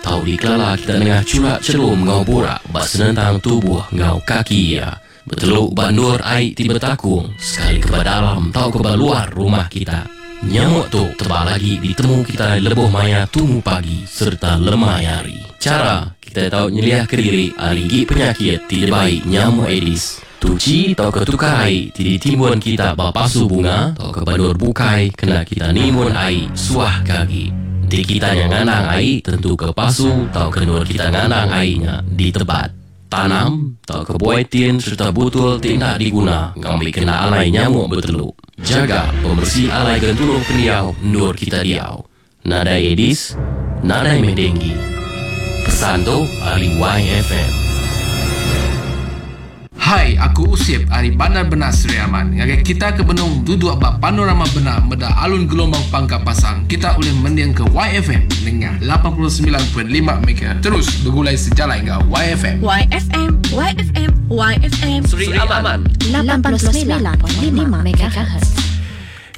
Tau dikelala kita nengah churak chelum enggau burak ba senentang tubuh enggau kaki iya. Betelu ba endur ai ti betakung sekali ke ba dalam tauka ba luar rumah kita. Nyamuk tu tebal agi ditemu kitai lebuh maya tumu pagi sereta lemai hari. Chara kitai tau nyeliahka diri ari igi penyakit ti dibai nyamuk Aedes. Tuchi tauka tukar ai ti ditimbun kita ba pasu bunga tauka ba endur bukai kena kita nimbun ai suah ke agi. Enti kita nya ngandang ai, tentuka pasu tauka endur kita ngandang ai nya ditebat. Tanam tauka buai tin sereta butul ti enda diguna ngambi kena alai nyamuk betelu. Jaga pemeresi alai genturung pendiau endur kita diau. Nadai Aedes, nadai meh denggi. Pesan tu ari YFM. Hai, aku Usip ari Bandar Bena Sri Aman. Ngagai kita ke benung duduk ba Panorama Bena meda alun gelombang pangka pasang, kita ulih mendingka YFM nengah 89.5 MHz. Terus begulai sejalai enggau YFM. YFM, YFM, YFM. Sri Aman. 89.5 MHz.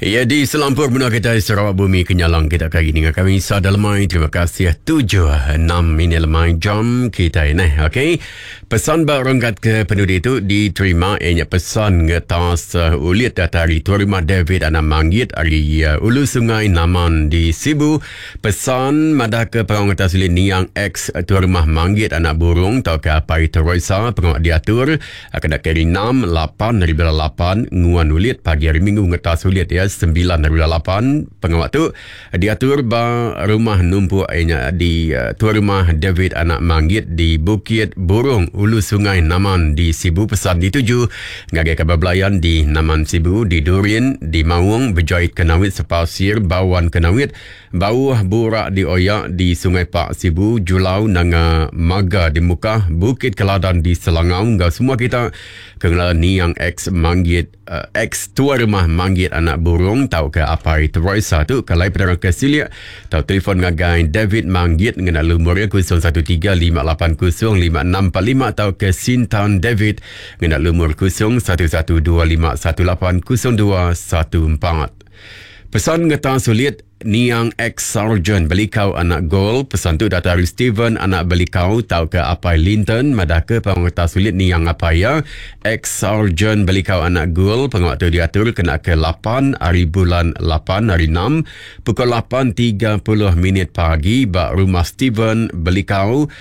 Ya di selampur menua kita Sarawak Bumi Kenyalang kita kali ini kami sada lemai terima kasih 7 6 minit lemai jam kita ini okey pesan ba renggat ke penudi itu diterima ianya pesan ngetas uh, ulit data hari Tuan Rumah David Anak Manggit ari uh, Ulu Sungai Naman di Sibu pesan madah ke pengawa ngetas ulit niang ex Tuan Rumah Manggit Anak Burung tau ke Apai Teresa pengawa diatur Kena ke hari enam, lapan hari bulan lapan, nguan ulit pagi hari minggu ngetas ulit iya sembilan hari bulan lapan. Pengawa tu diatur ba rumah numpuk iya nya di Tuai Rumah David Anak Manggit di Bukit Burung, Ulu Sungai Naman di Sibu. Pesan dituju ngagai kaban belayan di Naman Sibu, di Durin, di Maung, Bejait Kenawit, Sepasir, Bawan Kenawit, Bauh Burak di Oya di Sungai Pak, Sibu, Julau, Nanga Maga di Mukah, Bukit Keladan di Selangau enggau semua kita ke ngelala niang ex Manggit ex Tuai Rumah Manggit Anak Burung tauka Apai Teresa tu ke alai penerang ke silik tau telefon ngagai David Manggit ngena lumur iya 013 580 5645 tauka Sintan David ngena lumur 011 25 18 02 14. Pesan ngeta sulit niang ex-sarjan Belikau anak Gol. Pesan tu datai ari Steven anak Belikau tauka apai Linton madahka pengeta sulit niang apai iya ex-sarjan Belikau anak Gol. Pengawa tu diatur kena ke lapan ari bulan lapan hari enam pukul lapan tiga puluh minit pagi ba rumah Steven Belikau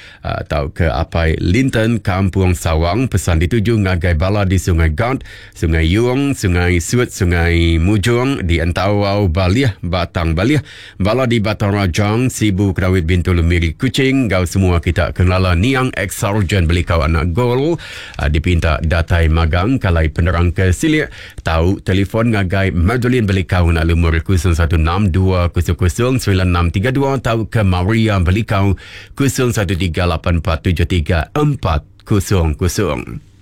tauka apai Linton Kampung Sawang. Pesan dituju ngagai bala di Sungai Gat Sungai Yung, Sungai Sut, Sungai Mujong di Entawau, Balih, Batang Balih, bala di Batang Rajang, Sibu, Kerawit, Bintulu, Miri, Kuching enggau semua kita ke ngelala niang ex-Sarjan Belikau Anak Gol dipinta datai magang kalai penerang ke silik tau telefon ngagai Madeline Belikau ngena lumur 016 200 9632 tauka Maria Belikau 013 8473 400.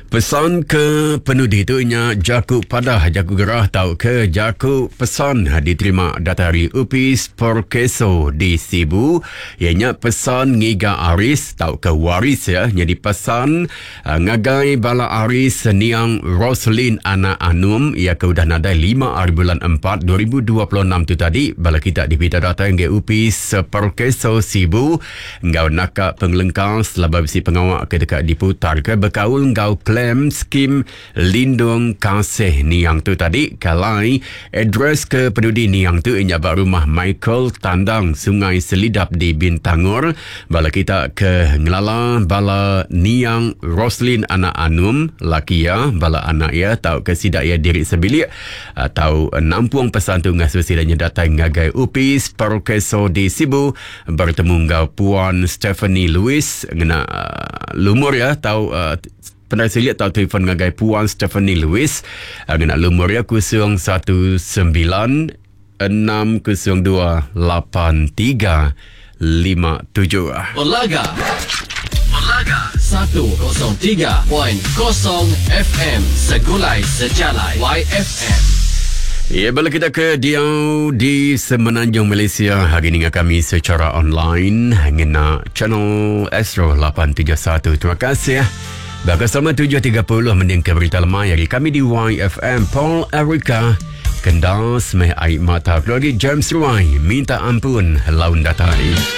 Pesan ke penudi tu nya jaku padah, jaku gerah tauka jaku pesan diterima datai ari Opis Perkeso di Sibu iya nya pesan ngiga aris tauka waris ya nyadi pesan eh, ngagai bala aris niang Roslin anak Anum iya ke udah nadai 5 hari bulan 4 2026 tu tadi bala kita dipinta datai ngagai Opis Perkeso Sibu Enggau naka pengelengkas laban bisi pengawa ke deka diputarka bekaul enggau klaim skim lindung kasih niang tu tadi ke alai address ke penudi niang tu iya nya ba rumah Michael Tandang Sungai Selidap di Bintangor. Bala kita ke ngelala bala niang Roslin anak Anum laki iya bala anak iya tauka sida iya diri sebilik tau nampung pesan tu ngasuh sida nya datai ngagai Opis Perkeso di Sibu Bertemu enggau Puan Stephanie Louis ngena lumur iya tau pendai silik tau telefon ngagai Puan Stephanie Louis ngena lumur iya 019 602 8357. Belaga. Belaga 103.0 FM Segulai Sejalai YFM. Ya, bala kita ke diau di Semenanjung Malaysia hari ini dengan kami secara online ngena channel Astro 871. Terima kasih. Bakal sama 7.30 mending ke berita lemai hari kami di YFM Paul Erica. Kendas meh air mata keluarga James Ruai minta ampun laun datai.